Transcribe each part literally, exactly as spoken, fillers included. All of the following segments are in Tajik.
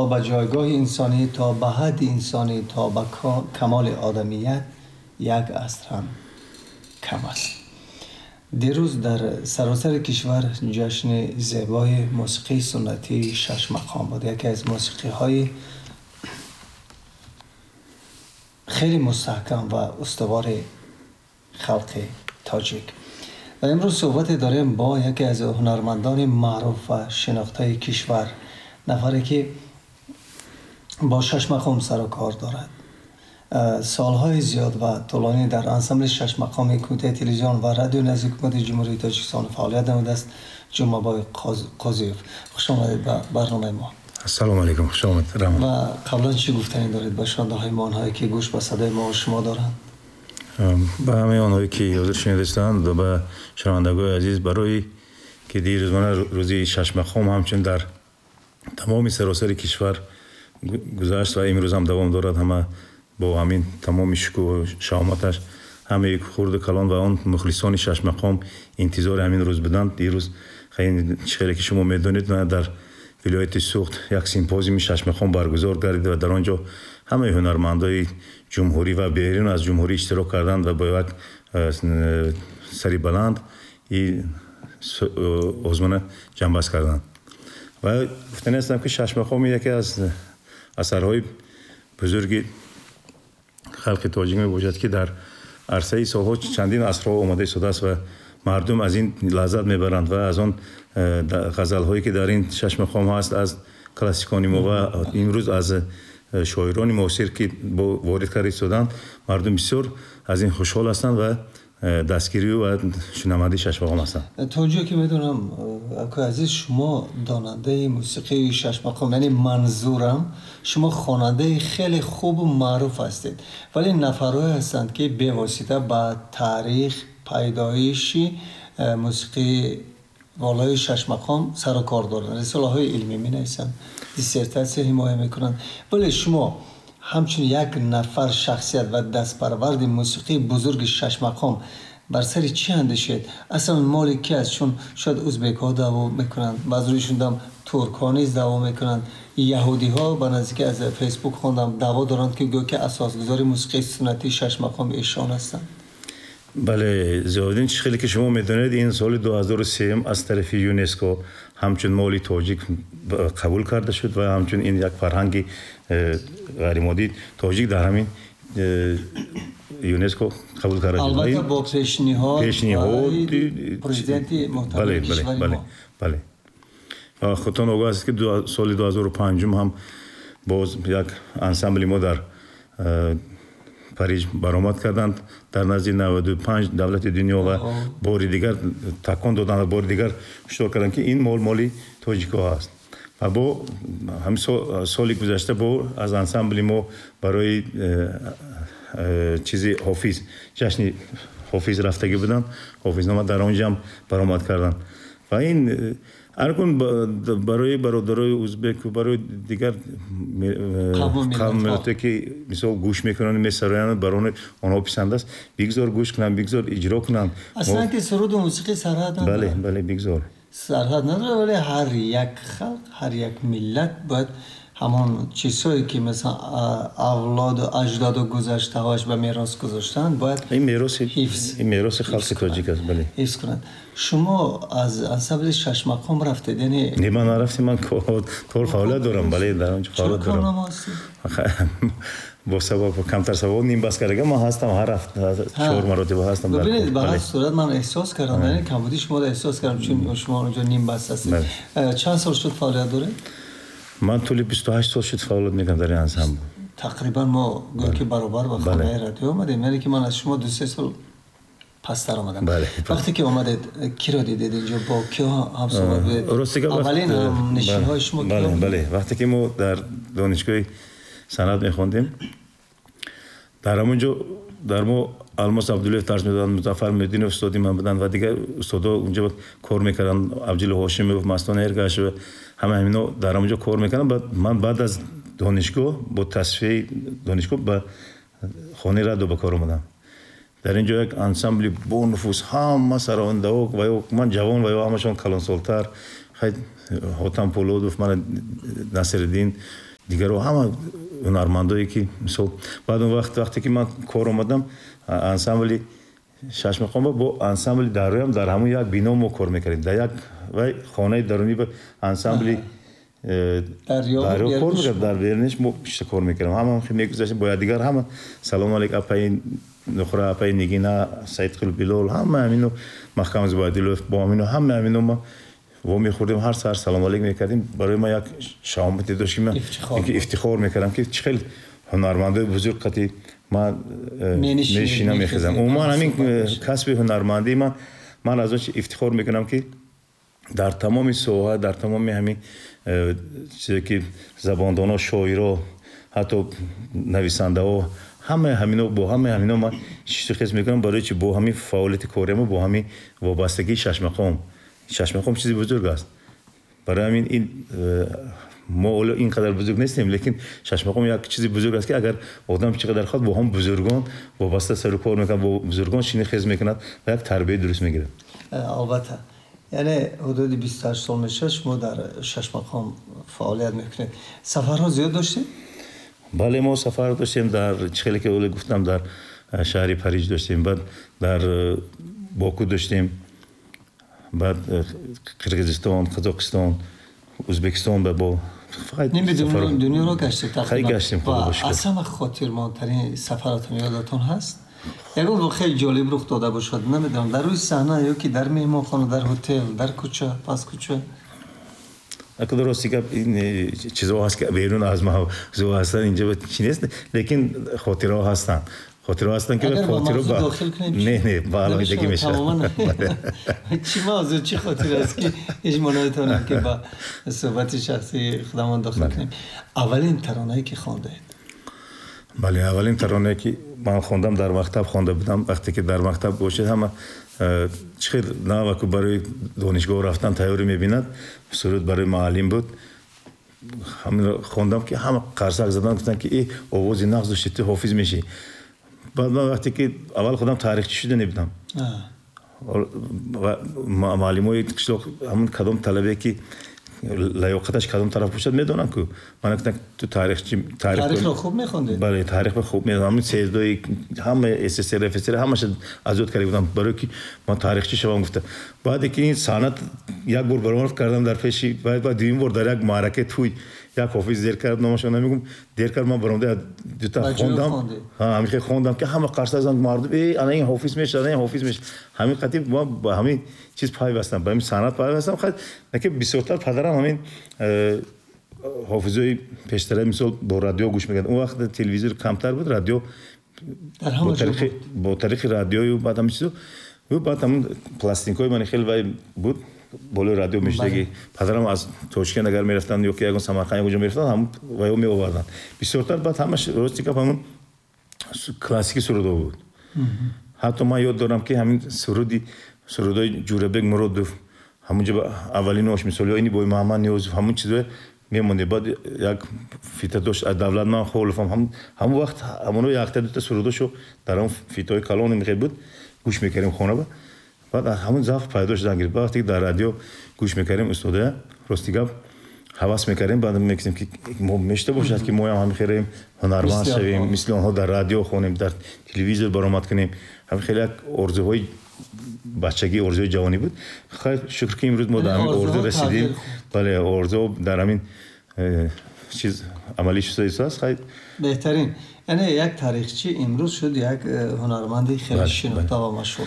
به جایگاه انسانی، تا به حد انسانی، تا به کمال آدمیت یک عصر هم کم است. دیروز در سراسر کشور جشن زیبای موسیقی سنتی شش مقام بود، یکی از موسیقی های خیلی مستحکم و استوار خلق تاجیک. و امروز صحبت داریم با یکی از هنرمندان معروف و شناخته کشور، نفری که با شش مقام سر و کار دارد، سالهای زیاد و طولانی در انسامبل شش مقام کمیته تلویزیون و رادیو نزدیک حکومت جمهوری تاجیکستان فعالیت نموده است، جمعه‌بای قاضیوف. خوش آمدید به برنامه ما. السلام علیکم، خوش آمد. و قبلا چی گفتنی دارید به شنونده‌های ما، آنهایی که گوش به صدای ما و شما دارند؟ به همه آنهایی که حاضر شنیدستند و به شنوندگان عزیز، برای که دیروز روزی شش مقام همچون در تمام سراسر کشور گذشت و امروز هم دوام دارد، همه با همین تمام شکوه و شهامتش، همه خرد و کلان و آن مخلصان شش مقام انتظار همین روز بودند. دیروز خیلی خیلی که شما میدونید در ولایت سوخت یک سیمپوزیوم شش مقام برگزار گردید و در آنجا همه هنرمندای جمهوری و بیرون از جمهوری اشتراک کردند و با یک سری بلند این آزمون جنباز کردند. و گفتنی هستم که شش مقام یکی از اثرهای بزرگ خلق تاجیک می باشد که در عرصه سالها چندین عصرها آمده شده است و مردم از این لذت میبرند و از آن غزل‌هایی که در این شش مقام هست از کلاسیکان ما و امروز از شاعران معاصر که با وارد کرده شدند، مردم بسیار از این خوشحال هستند و دستگیری و شنونده شش مقام هستند. تا جایی که میدونم اکو عزیز، شما داننده موسیقی شش مقام، یعنی منظورم شما خواننده خیلی خوب و معروف هستید، ولی نفرهایی هستند که به واسطه با تاریخ پیدایشی موسیقی والای شش مقام سر و کار دارند، رساله های علمی می نویسند، دیسرتاسیون حمایت میکنند، ولی شما همچون یک نفر شخصیت و دستپرورد موسیقی بزرگ شش مقام بر سر چی اندیشید؟ اصلا مال کی است؟ چون شاید ازبک ها دعوا میکنند، بعضیشون دم ترک ها نیز دعوا میکنند، یهودی ها به نزدیک از فیسبوک خوندم دعوا دارند که گویا که اساسگذار موسیقی سنتی شش مقام ایشان هستند. بله زیادین، خیلی که شما میدونید این سال دو هزار و سه از طرف یونسکو همچون مالی تاجیک قبول کرده شد و همچون این یک فرهنگ غیرمادی تاجیک در همین یونسکو قبول کرده شد. البته با پیشنهاد پیشنهاد پرزیدنت محترم بله بله بله بله. و خودتان آگاه هستید که سال دو هزار و پنج هم باز یک انسامبل ما در پاریس برآمد کردند در نزد نود و پنج دولت دنیا و بار دیگر تکان دادند و بار دیگر هشدار کردند که این مال مالی تاجیک‌ها است. و با همین سال گذشته با از انسامبل ما برای چیزی حافظ، جشن حافظ رفتگی بودند، حافظنامه در آنجا هم برآمد کردند. و این ارکون برای برادرای ازبک و برای دیگر قوم ملت که مثلا گوش میکنن میسرایند، برای آنها پسند است، بگذار گوش کنن، بگذار اجرا کنن. اصلا که سرود و موسیقی سرحد نداره. بله بله بگذار سرحد نداره، ولی هر یک خلق، هر یک ملت باید همان چیزهایی که مثلا اولاد و اجداد و گذشته‌هاش به میراث گذاشتن باید این میراث حفظ، این میراث خلق تاجیک است. بله حفظ کنند. شما از انسامبل شش مقام رفتید؟ یعنی نه، من نرفتم، من طور فعالیت دارم. بله در آنجا فعالیت دارم. با سبب کمتر سبب نیم بس کرده من هستم، هر هفته چهار مرتبه هستم. ببینید به هر صورت من احساس کردم، یعنی کمبودی شما رو احساس کردم چون شما اونجا نیم بس هستید. چند سال شد فعالیت دارید؟ من طول بیست و هشت سال شد فعالیت میکنم در این انسامبل. تقریبا ما گویا که برابر با خانه رادیو آمدیم، یعنی که من از شما دو سه سال پستر آمدم. بله. وقتی که آمدید کی را دیدید اینجا؟ با کی هم صحبت بودید؟ اولین هم نشین های شما کی؟ بله بله، وقتی که ما در دانشگاه صنعت میخوندیم در همونجا در ما الماس عبدالله درس میدادن، مظفر مدین استادی من بودن و دیگر استادا اونجا کار میکردن، عبدالله هاشمی و مستان ارگش و همه همینا در اونجا کار میکردن. بعد من بعد از دانشگاه با تصفیه دانشگاه به خانه رادیو به کار اومدم. در اینجا یک انسامبل با نفوذ، همه سراینده و من جوان و همشون کلانسالتر، خیلی حاتم پولادوف، من نصرالدین дигарҳо, ҳама ҳунармандое ки мисол баъд он вақт вақте ки ман кор омадам, ансамбли Шашмақом бо ансамбли Дарёам дар ҳамон як бино мо кор мекардем, дар як вай хонаи дарунӣ ба ансамбли Дарё кор мекард, дар беруниш мо пишта кор мекардем. Ҳама мегузаштем бо якдигар, ҳама салом алейк апаи Нухра, апаи Нигина, Саидқул Билол, ҳама ҳамино Маҳкам Зубайдуллоев бо ҳамино ҳама ҳамино ма во мехӯрдем, ҳар саҳар салом алейк мекардем. Барои ман як шаҳомате дошт ки ман ифтихор мекардам ки чӣ хел ҳунармандои бузург қати ман мешинам, мехезам. Умуман ҳамин касби ҳунармандии ман, ман аз он чи ифтихор мекунам ки дар тамоми соҳа, дар тамоми ҳамин чизе ки забондоно, шоиро, ҳатто нависандаҳо, ҳамаи ҳамино бо ҳамаи ҳамино ман шишту хез мекунам, барои чи бо ҳамин фаъолияти кориамо, бо ҳамин вобастагии Шашмақом. Шашмақом чизи бузург аст. Барои ҳамин ин мо ҳоло ин қадар бузург нестем, лекин Шашмақом як чизи бузург аст ки агар одам чӣ қадар хоҳад бо ҳам бузургон вобаста сару кор мекунад, бо бузургон шини хез мекунад ва як тарбияи дуруст мегирад. Албатта, яъне ҳудуди бисту ҳашт сол мешавад шумо дар Шашмақом фаъолият мекунед. Сафарҳо зиёд доштед? Бале, мо сафар доштем, дар чӣ хеле ки оле гуфтам, дар шаҳри Париж доштем, баъд дар Боку доштем, баъд Қирғизистон, Қазоқистон, Ӯзбекистон ба бо фақат дунёро гаштед тақрибан. Хеле гаштем, худо ба шукр. Аз ҳама хотирмондтарин сафаратон ёдатон ҳаст? Ягон воқеаи ҷолиб рух дода бошад, намедонам, дар рӯи саҳна ё ки дар меҳмонхона, дар ҳотел, дар кӯча, пас кӯча? Ака дурости гап, ин чизҳо ҳаст ки берун аз мавзӯъ ҳастанд, инҷо чи нест, лекин хотираҳо ҳастанд. Хотираҳо ҳастанд ки хотираҳо ба не не ба алоҳидагӣ мешавад. Чӣ мавзӯъ, чӣ хотира аст ки ҳеҷ мо наметавонем ки ба суҳбати шахсии худамон дохил кунем? Аввалин таронае ки хондаед? Бале, аввалин таронае ки ман хондам, дар мактаб хонда будам. Вақте ки дар мактаб бошед, ҳама чӣ хел наваку барои донишгоҳ рафтан тайёрӣ мебинад, суруд барои муаллим буд. Ҳаминро хондам ки ҳама қарсак задан, гуфтанд ки э овози нағз дошти, ту ҳофиз мешӣ. Баъд ман вақте ки аввал худам таърихчӣ шуда небудам, муаллимои қишлоқ ҳамун кадом талабе ки лаёқаташ кадом тараф бошад медонанд ку. Ман гуфтам ту таърихчи, таърихро хуб мехондед? Бале, таърихро хуб медонам. Ҳамун сездои ҳама СССР, ФССР ҳамаша аз ёд карда будам, барои ки ман таърихчи шавам гуфта. Баъде ки ин санъат як бор баромад кардам дар пеши, баъд дуюм бор дар як маъракаи тӯй як ҳофиз дер кард, номашро намегум, дер кард, ман баромада дута хондам. Ҳамин хел хондам ки ҳама қарса заданд мардум, э ана ин ҳофиз мешавад, ана ин ҳофиз мешавад. Ҳамин қатиб ман ба ҳамин чиз пайвастам, ба ҳамин санъат пайвастам. Хай ки бисёртар падарам ҳамин ҳофизои пештара мисол бо радио гӯш мекард. Он вақт телевизор камтар буд, радио бо тариқи радиою баъд ҳамин чизо, баъд ҳамин пластинкаҳои мани хеле вай буд, болои радио мешудагӣ. Падарам аз Тошкент агар мерафтанд ё ки ягон Самарқанд ягон ҷо мерафтанд, ҳамун вайо меоварданд. Бисёртар баъд ҳамаш рости гап ҳамун классики сурудҳо буд. Ҳатто ман ёд дорам ки ҳамин суруди сурудҳои Ҷӯрабек Муродов, ҳамунҷо аввалинош мисол ё ини бой Муҳаммад Ниёзов, ҳамун чизҳое мемонде. Баъд як фита дошт аз Давлатман Холов, ҳамун вақт ҳамоно якта дута сурудошо дар ҳамун фитаҳои калони мехел буд, гӯш мекардем хона ба. Баъд ҳамун завқ пайдо шудан гирифт. Вақте ки дар радио гӯш мекардем устодая, рости гап ҳавас мекардем, баъд мегуфтем ки мо мешта бошад ки моям ҳамин хеле ҳунарманд шавем, мисли онҳо дар радио хонем, дар телевизор баромад кунем. Ҳамин хеле як орзуҳои бачагӣ, орзуҳои ҷавонӣ буд. Хайр, шукр ки имрӯз мо дар ҳамин орзу расидем. Бале, орзу дар ҳамин чиз амалӣ шудааст. Хайр, беҳтарин. Яъне як таърихчи имрӯз шуд як ҳунарманди хеле шинохта ва машҳур.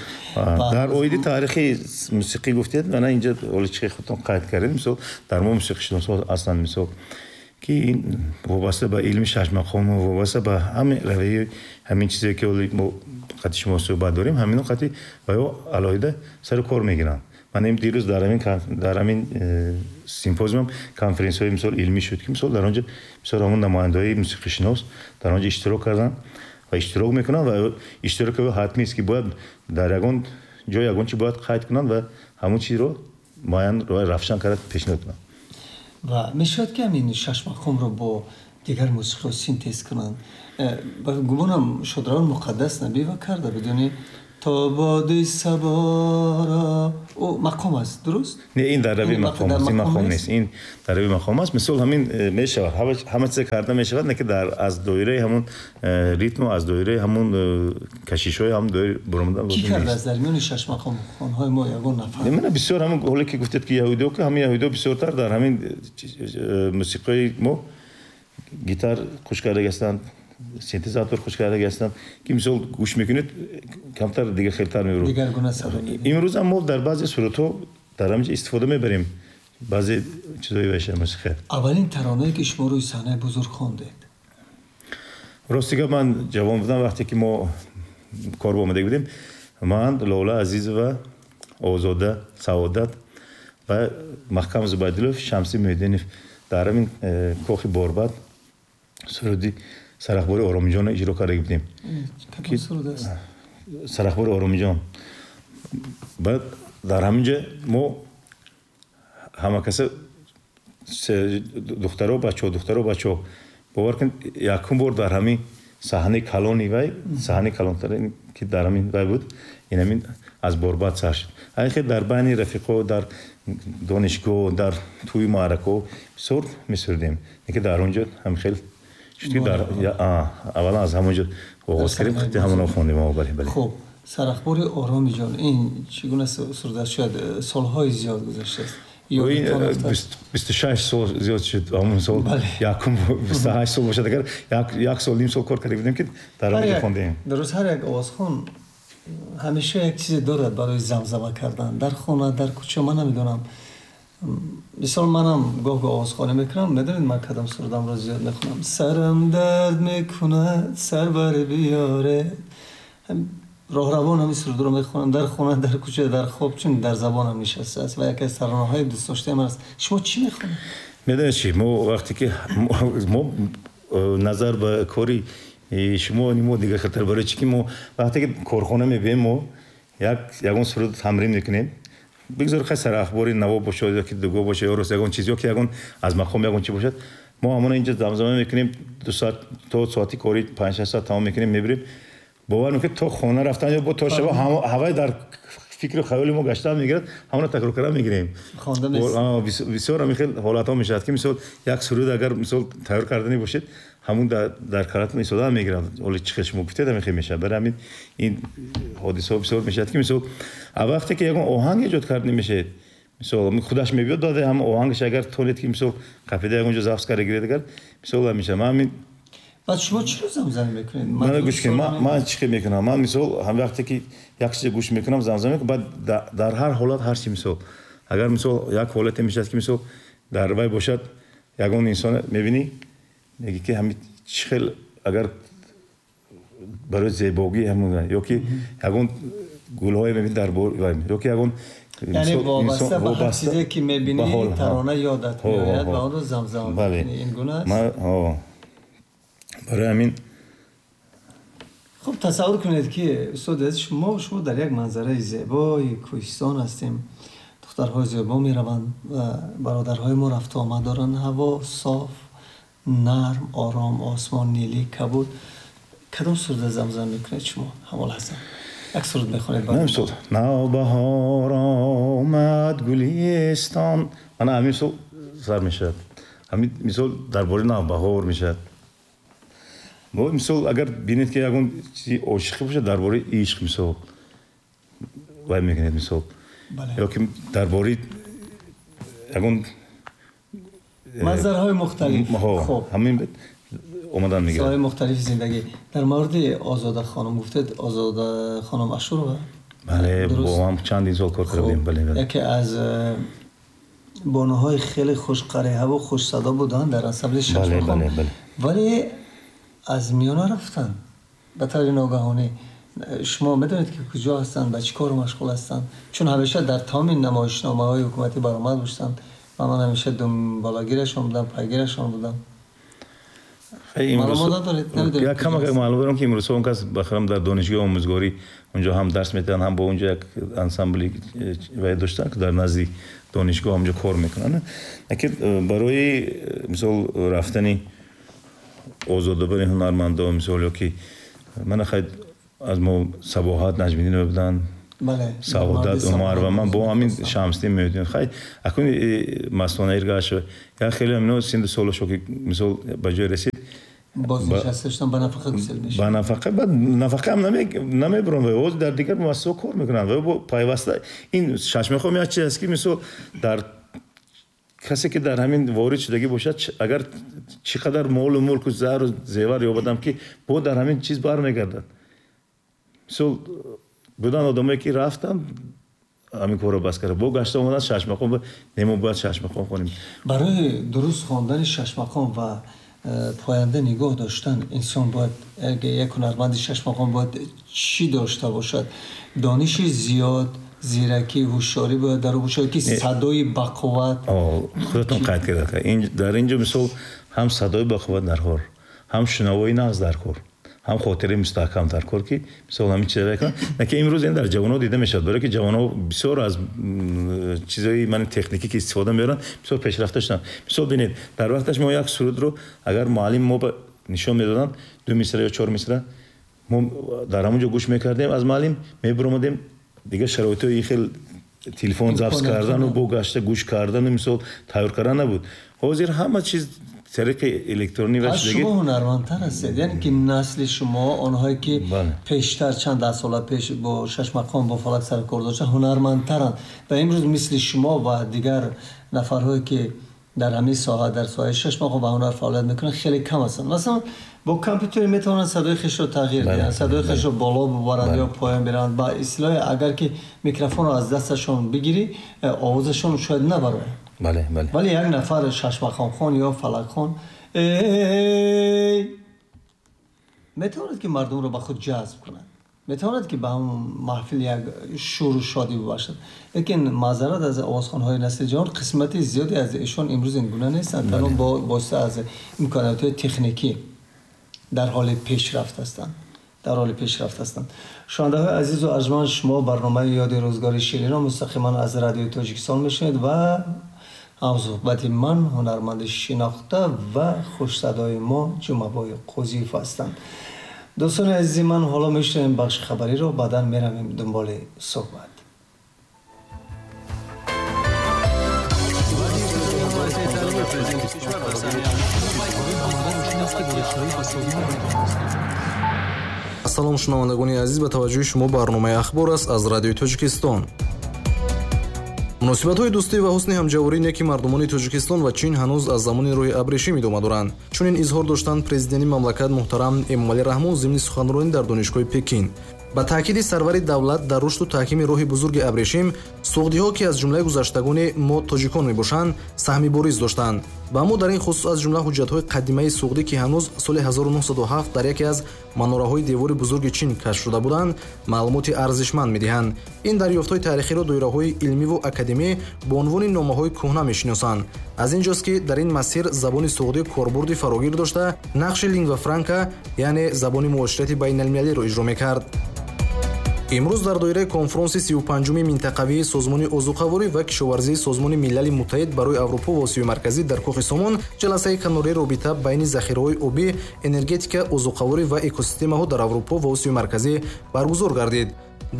Дар оиди таърихи мусиқӣ гуфтед, мана инҷа оли чӣ худтон қайд кардед, мисол дар мо мусиқишиносҳо ҳастанд, мисол ки ин вобаста ба илми шашмақому вобаста ба ҳамин равияи ҳамин чизе ки оли мо қати шумо суҳбат дорем, ҳамино қати ва ё алоҳида сару кор мегиранд. Ман им дирӯз дар ҳамин дар ҳамин симпозиум конференсияҳои мисол илмӣ шуд ки мисол дар он ҷо мисол ҳамон намояндаҳои мусиқишинос дар он ҷо иштирок карданд ва иштирок мекунанд ва иштироки ӯ ҳатмӣ аст ки бояд дар ягон ҷой ягон чи бояд қайд кунанд ва ҳамон чизро муайян равшан карда пешниҳод кунанд. Ва мешавад ки ҳамин шашмақомро бо дигар мусиқиҳо синтез кунанд? Гумонам Шодравон Муқаддас Набиева карда бидуни То боди сабора, ӯ мақом аст, дуруст? Не, ин дар рави мақом аст, ин мақом нест, ин дар рави мақом аст. Мисол ҳамин мешавад, ҳама чиз карда мешавад, не ки дар аз доираи ҳамон ритм ва аз доираи ҳамон кашишҳои ҳам доира баромадан лозим нест. Ки кардааст дар миёни шаш мақомхонҳои мо ягон нафар? Не, мана бисёр ҳамон ҳоле ки гуфтед ки яҳудиё, ки ҳамин яҳудиё бисёртар дар ҳамин мусиқии мо гитар хуш кардаги ҳастанд, синтезатор хуш кардаги ҳастанд, ки мисол гӯш мекунед камтар дигар хелтар мебарад. Дигаргуна садо медиҳад. Имрӯз ҳам мо дар баъзе сурудҳо дар ҳаминҷо истифода мебарем баъзе чизҳои вайша мусиқия. Аввалин таронае ки шумо рӯи саҳнаи бузург хондед? Рости гап, ман ҷавон будам вақте ки мо кор ба омада будем, ман, Лола Азизова, Озода Саодат ва Маҳкам Зубайдуллов, Шамси Муҳиддинов дар ҳамин кохи Борбад суруди Сарахбори Оромиҷонро иҷро карда будем. Кадом суруд аст? Сарахбори Оромиҷон. Баъд дар ҳамин ҷо мо ҳама каса духтаро, бачаҳо, духтаро, бачаҳо, бовар кунед, якум бор дар ҳамин саҳнаи калони вай, саҳнаи калонтар ки дар ҳамин вай буд, ин ҳамин аз Борбад сар шуд. Ҳамин дар байни рафиқо, дар донишгоҳ, дар тӯи маъракаҳо бисёр месурудем. Ки дар он ҷо ҳам хел шуд ки дар аввалан аз ҳамон ҷо оғоз кардем, хати ҳамонро хондем. Бале, бале. Хуб, Сарахбори Оромиҷон, ин чӣ гуна суруд аст? Шояд солҳои зиёд гузаштааст. Бисту шаш сол зиёд шуд. Ҳамон сол якум бисту ҳашт сол бошад, агар як сол ним сол кор карда будем ки дар он ҷо хондем. Дуруст, ҳар як овозхон ҳамеша як чизе дорад барои замзама кардан дар хона, дар кӯча. Ман намедонам, мисол манам гоҳ-гоҳ овозхонӣ мекунам. Медонед ман кадом сурудамро зиёд мехонам? Сарам дард мекунад, сарвар биёре. Роҳравон ҳамин сурудро мехонам дар хона, дар кӯча, дар хоб, чун дар забонам нишастааст ва яке аз таронаҳои дӯстдоштаи ман аст. Шумо чӣ мехонед? Медонед чӣ, мо вақте ки мо назар ба кори шумо мо дигар хелтар, барои чӣ ки мо вақте ки корхона мебием, мо як ягон суруд тамрин мекунем, бигзор хай сарахбори наво бошад ё ки дуго бошад ё рост ягон чиз ё ки ягон аз мақом ягон чи бошад, мо ҳамона инҷо замзама мекунем, ду соат то соати кори панҷ шаш соат тамом мекунем, мебирем. Бовар мекунед то хона рафтан ё бо то шаба ҳавай дар фикру хаёли мо гаштан мегирад, ҳамона такрор кардан мегирем. Хонда нест. Бисёр ҳамин хел ҳолатҳо мешавад ки мисол як суруд агар мисол тайёр кардани бошед, ҳамун дар каратон истода мегирад. Ҳоло чӣ хел шумо гуфтед, ҳамин хел мешавад. Барои ҳамин ин ҳодисаҳо бисёр мешавад ки мисол а вақте ки ягон оҳанг эҷод карда мешавед, мисол худаш мебиёд, баъд ҳам оҳангаш агар тонед ки мисол қафида ягон ҷо запис карда гиред, агар мисол мешавад. Ман ҳамин. Баъд шумо чиро замзама мекунед? Ман гӯш кунед, ман ман чӣ мекунам? Ман мисол ҳам вақте ки як чизе гӯш мекунам, замзама мекунам, баъд дар ҳар ҳолат ҳар чи мисол. Агар мисол як ҳолате мешавад ки мисол дар вай бошад, ягон инсон мебинӣ, мегӣ ки ҳамин чӣ хел агар барои зебогӣ ҳамон ё ки ягон гулҳое мебинӣ дар вай, ё ки ягон яъне вобаста ба ҳар чизе ки мебинӣ тарона ёдат меояд ва онро замзама мекунӣ. Ин гуна аст? Барои ҳамин. Хуб, тасаввур кунед ки устод азиз, шумо шумо дар як манзараи зебои кӯҳистон ҳастем. Духтарҳои зебо мераванд ва бародарҳои мо рафту омад доранд. Ҳаво соф, нарм, ором, осмон нилӣ, кабуд. Кадом суруда замзама мекунед шумо ҳамон лаҳза? Як суруд мехонед? Мисол навбаҳор омад гулистон, мана ҳамин мисол сар мешавад. Ҳамин мисол дар бораи навбаҳор мешавад. Мисол агар бинед ки ягон чизи ошиқӣ бошад, дар бораи ишқ мисол вай мекунед мисол, ё ки дар бораи ягон манзараҳои мухталиф. Ҳамин омадан мегирад. Соҳаи мухталифи зиндагӣ. Дар мавриди Озода хонум гуфтед, Озода хонум Ашурова? Бале, бо ҳам чандин сол кор карда будем. Бале, бале. Яке аз бонуҳои хеле хушқариҳаву хушсадо буданд дар ансамбли Шашмақом. Бале, бале. Вале аз миёна рафтанд ба таври ногаҳонӣ. Шумо медонед ки куҷо ҳастанд, ба чӣ кор машғул ҳастанд? Чун ҳамеша дар тамоми намоишномаҳои ҳукуматӣ баромад доштанд ва ман ҳамеша думболагирашон будам, пайгирашон будам. Маълумот надоред? Намедонед? Як кам як маълум дорам ки имрӯзҳо он кас бахарам дар донишгоҳи омӯзгорӣ онҷо ҳам дарс медиҳанд, ҳам бо онҷо як ансамбли вай доштанд ки дар назди донишгоҳ ҳамҷо кор мекунанд. Лекин барои мисол рафтани озодобани ҳунармандо, мисол ё ки мана хай Аз мо Сабоҳат Наҷмиддинова буданд, Саодат Умар ва ман бо ҳамин Шамсиддин Муҳиддинов. Хай, акун Мастона Иргашева, як хеле ҳамино синду солашо ки мисол ба ҷой расид, бознишаста шудан, ба нафақа гусел мешавад. Ба нафақа, баъд нафақа ҳам намебаранд ва ҳозир дар дигар муассисаҳо кор мекунанд ва бо пайваста ин шашмақом як чиз аст ки мисол дар касе ки дар ҳамин ворид шудагӣ бошад, агар чӣ қадар молу мулку зару зевар ёбадам ки бо дар ҳамин чиз бармегардад. Мисол будан одамое ки рафтанд ҳамин корро бас карда, бо гашта омаданд шашмақом, немо бояд шашмақом хонем. Барои дуруст хондани шашмақом ва поянда нигоҳ доштан инсон бояд, як ҳунарманди шашмақом бояд чӣ дошта бошад? Дониши зиёд, зиракӣ, ҳушёрӣ бояд дар ӯ бошад ки садои бақувват. Худатон қайд кардед. Дар инҷо мисол ҳам садои бақувват дар кор, ҳам шунавои нағз дар кор, ҳам хотираи мустаҳкам дар кор ки мисол ҳамин чизҳоро кунанд. На ки имрӯз ин дар ҷавонҳо дида мешавад, барои ки ҷавонҳо бисёр аз чизҳои ман техникӣ ки истифода мебаранд, бисёр пешрафта шуданд. Мисол бинед, дар вақташ мо як сурудро агар муаллим мо нишон медоданд, ду мисра ё чор мисра, мо дар ҳамон ҷо гӯш мекардем аз муаллим, мебаромадем, дигар шароитҳои хел телефон запис кардану бо гашта гӯш кардану мисол тайёр кардан набуд. Ҳозир ҳама чиз тариқи электронӣ ва шумо ҳунармандтар ҳастед, яъне ки насли шумо, онҳое ки пештар чанд даҳ сола пеш бо шашмақом бо фалак саркор доштанд, ҳунармандтаранд ва имрӯз мисли шумо ва дигар нафарҳое ки дар ҳамин соҳа, дар соҳаи шашмақом ва ҳунар фаъолият мекунанд, хеле кам ҳастанд. Масалан бо компютер метавонанд садои хешро тағйир диҳанд, садои хешро боло бубаранд ё поён биранд. Ба истилоҳ агар ки микрофонро аз дасташон бигирӣ, овозашон шояд набарояд. Бале, бале. Вале як нафар шашмақомхон ё фалакхон эй метавонад ки мардумро ба худ ҷазб кунад, метавонад ки ба ҳамон маҳфил як шуру шодӣ бибахшад. Лекин маъзарат аз овозхонҳои насли ҷавон, қисмати зиёде аз эшон имрӯз ин гуна нестанд, танҳо бо восита аз имкониятҳои техникӣ дар ҳоли пешрафт ҳастанд. Дар ҳоли пешрафт ҳастанд. Шунавандаҳои азизу арҷманд, шумо барномаи ёди рӯзгори ширинро мустақиман аз радиои Тоҷикистон мешунавед ва ҳамсуҳбати ман ҳунарманди шинохта ва хушсадои мо Ҷумъабой Қозиев ҳастанд. Дӯстони азизи ман, ҳоло мешунавем бахши хабариро, баъдан меравем дунболи суҳбат. Ассалом, шунавандагони азиз, ба таваҷҷӯҳи шумо барномаи ахбор аст аз радиои Тоҷикистон. Муносибатҳои дӯстӣ ва ҳусни ҳамҷаворӣ неки мардумони Тоҷикистон ва Чин ҳанӯз аз замони рӯи абрешим идома доранд. Чунин изҳор доштанд президенти мамлакат муҳтарам Эмомалӣ Раҳмон зимни суханронӣ дар донишгоҳи Пекин. Ба таъкиди сарвари давлат дар рушду таҳкими роҳи бузурги абрешим, суғдиҳо ки аз ҷумлаи гузаштагони мо тоҷикон мебошанд, саҳми бориз доштанд. Ба мо дар ин хусус аз ҷумла ҳуҷҷатҳои қадимаи суғдӣ ки ҳанӯз соли ҳазору нӯҳсаду ҳафт дар яке аз манораҳои девори бузурги Чин кашф шуда буданд, маълумоти арзишманд медиҳанд. Ин дарёфтҳои таърихиро доираҳои илмиву академӣ бо унвони номаҳои кӯҳна мешиносанд. Аз ин ҷост ки дар ин масир забони суғдӣ корбурди фарогир дошта, нақши лингва франка, яъне забони муоширати байналмилалиро иҷро мекард. Имрӯз дар доираи конфронси сию панҷуми минтақавии Созмони озуқаворӣ ва кишоварзии Созмони Милали Муттаҳид барои Аврупо ва Осиёи Марказӣ дар Кохи Сомон ҷаласаи канории робита байни захираҳои обӣ, энергетика, озуқаворӣ ва экосистемаҳо дар Аврупо ва Осиёи Марказӣ баргузор гардид.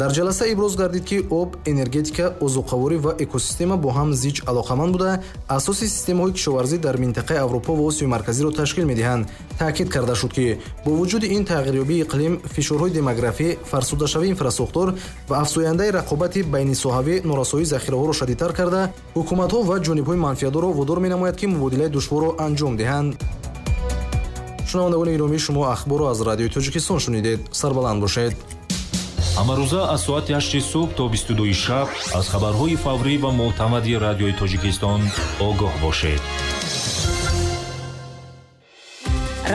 Дар ҷаласа иброз гардид ки об, энергетика, озуқаворӣ ва экосистема бо ҳам зич алоқаманд буда, асоси системаҳои кишоварзӣ дар минтақаи Аврупо ва Осиёи Марказиро ташкил медиҳанд. Таъкид карда шуд ки бо вуҷуди ин тағйирёбии иқлим, фишорҳои демографӣ, фарсудашавии инфрасохтор ва афзояндаи рақобати байнисоҳавӣ норасоии захираҳоро шадидтар карда, ҳукуматҳо ва ҷонибҳои манфиатдорро водор менамояд ки мубодилаи душворро анҷом диҳанд. Шунавандагони гиромӣ, шумо ахборро аз радиои Тоҷикистон шунидед. Сарбаланд бошед. Ҳамарӯза аз соати ҳашти субҳ то бисту дуи шаб аз хабарҳои фаврӣ ва мӯътамади радиои Тоҷикистон огоҳ бошед.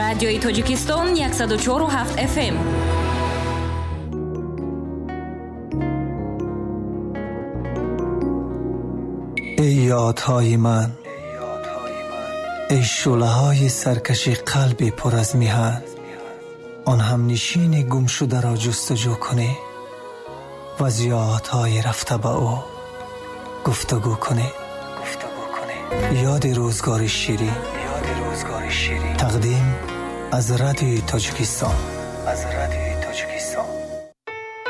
Радиои Тоҷикистон яксаду чору ҳафт эф эм. Эй ёдҳои ман, эй шӯълаҳои саркаши қалби пур аз миҳан, он ҳамнишини гумшударо ҷустуҷӯ кунӣ ва аз ёдҳои рафта ба ӯ гуфтугӯ кунӣ. Ёди рӯзгори ширин, тақдим аз радиои Тоҷикистон.